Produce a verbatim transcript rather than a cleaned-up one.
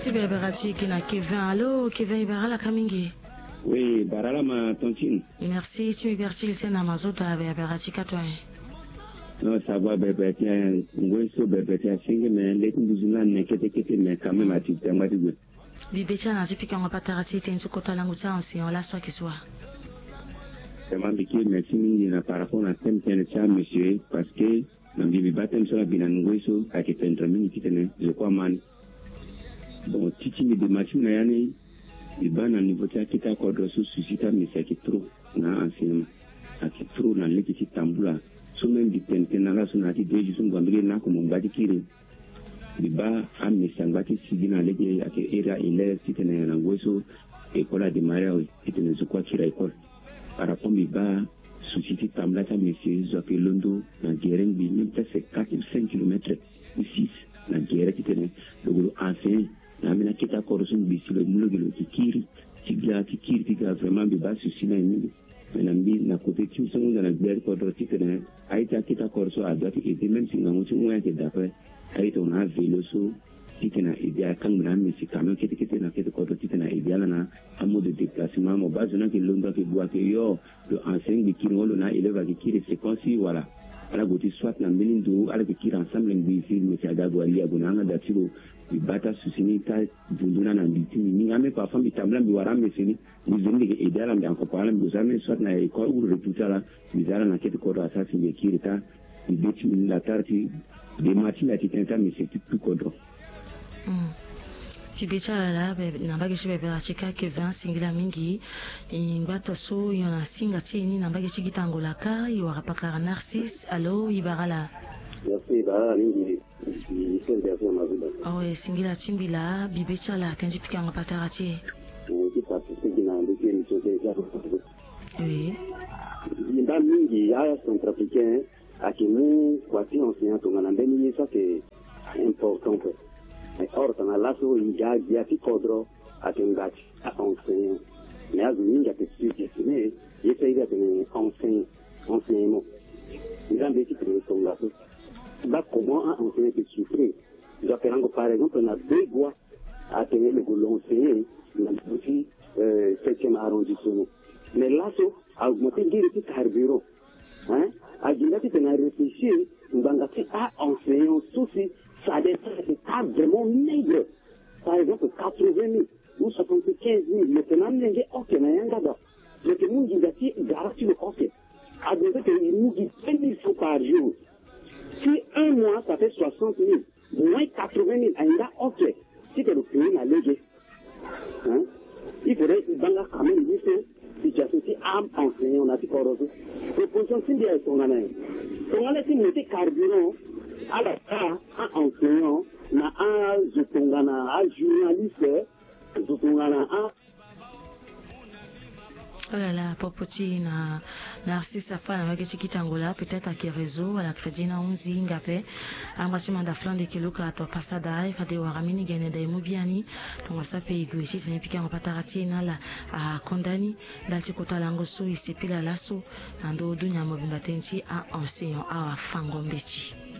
Ti bebera ti gi na Kevin. Alo Kevin, i bara ala ka mingi. Oui, bara ala ma tantine. Merci ti mi bere ti lise na mazoda bebera ti kato aye. Non, ça va, bebere ti ngoi so bebere ti asenge, mais le ti nduzu na ne kete kete, mais quand même ati tengba ti gue. Bibe ti ala na ti pikango patara ti e tënë ti kota lango ti aenseignant laso ayeke so wa? Vraiment mbi kiri merci mingi na par rapport na thème tënë ti amesio e, parce que na mbi mbi baa thème so na bi na ngoi so ayeke tene tene mingi titene zo kue ama ni. Bon, ti ti mbi dema ti mbi na ya ni, mbi baa na niveau ti akete akodro so souci ti amesio ayeke trop na aenseignement, ayeke trop na lege ti tambula. So même mbi tene tënë na ala so na ya ti deux jours so mbi gue na mbage na ako mo ngba ti kiri. Mbi baa amesio angba ti sigi na lege ayeke iri aélève titene na ngoi so école adémarré awe titene zo kue akiri aécole. Par rapport mbi baa souci ti tambula ti amesio, zo ayeke londo na gere ngbii, même presque quatre ou cinq kilomètres ou six na gere titene lo gue lo enseigner. Na ambeni akete akodro so ngbii si lo mu lo gi lo yeke kiri ti ga ti kiri ti ga, vraiment mbi baa souci na e mingi. Mais na mbi na côté ti mbi so ngu nda na gbia ti kodro titene aye ti akete akodro so adoit ti aider, même si ngangu ti hon ayeke d'après aye tongana avélo so titene a aider akangbi na amesio camion kete kete na kete kodro titene a aider ala na amode de déplacement. Mo baa zo ni ayeke londo ayeke gue ayeke yo, lo enseigner ngbii kiri ngo lo na élève ayeke kiri séquence wala ala gue ti soit na mbeni ndo ala yeke kiri ensemble ngbii si mesio aga gue ali ague na yanga da ti lo. Mbi baa ti asouci ni ti avundu ni na mbi ti mbi mingi ame parfois mbi tambula mbi wara amesio ni. Mbi zo ni mbi yeke aider ala mbi accompagner ala mbi zo ni soit na école ou retour ti ala. Mbi za ala na kete kodro asara si mbi yeke kiri ta. Mbi be ti mbi ni la tara ti dema ti mbi ati tënë ti amesio ti tout kodro. Mbi be ti ala laa na mbage ti bebera ti ka Kevin, singila mingi. E ngba to so e yeke na singa ti e ni na mbage ti gita Angola ka, e wara pakara Narcisse. Alo, e bara ala? Merci, e bara ala mingi. Awe, singila ti mbi laa, bibe ti ala, tënë ti pikango patara ti e. Oui. Mbi baa mingi acentrafricain ayeke mu kua ti enseignant tongana mbeni ye so ayeke important ape. Mais or tongana laso e ga gbia ti kodro ayeke ngba ti aenseignant. Mais azo mingi ayeke sous-estimer ye so aye atene enseignant, enseignement. Nzambe ti tene tongaso. Baa comment aenseignant ayeke souffrir. Zo ayeke lango par exemple na Begua atene lo gue lo enseigner na ndö ti septième arrondissement. Mais laso a augmenter giri ti carburant. Hein? A gi nda titene a réfléchir ngbanga ti a enseignant so si salaire ti ala ayeke ka vraiment maigre. Par exemple quatre-vingt mille ou soixante-quinze mille, lo yeke na amolenge oke na yanga da. Lo yeke mu nginza ti gara ti lo oke. A doit que e mu gi vingt mille francs par jour. Si un mois ça fait soixante mille, moins quatre-vingt mille, aye nga oke. Ti ke lo payer na lege. Hein? Il faudrait e baa nga quand même ye so situation ti a enseignant na ti kodro so. Proposition ti mbi aye tongana nyen? Tongana ti mo ti carburant ala taa a enseignant na azo tongana ajournaliste, zo tongana a. Oh là là, popo ti na Narcisse afa na mbage ti gita Angola, peut-être ayeke réseau wala crédit ni ahunzi hinga ape. Angba ti manda flanc de kilo ka to pasada, e fade wara mbeni gene da e mu biani. Tongaso ape e gue titene e pikango patara ti e na ala akonda ni. Ndali ti kota lango so e sepela laso na ndö dunia mobimba tënë ti a enseignant awa fango mbeti.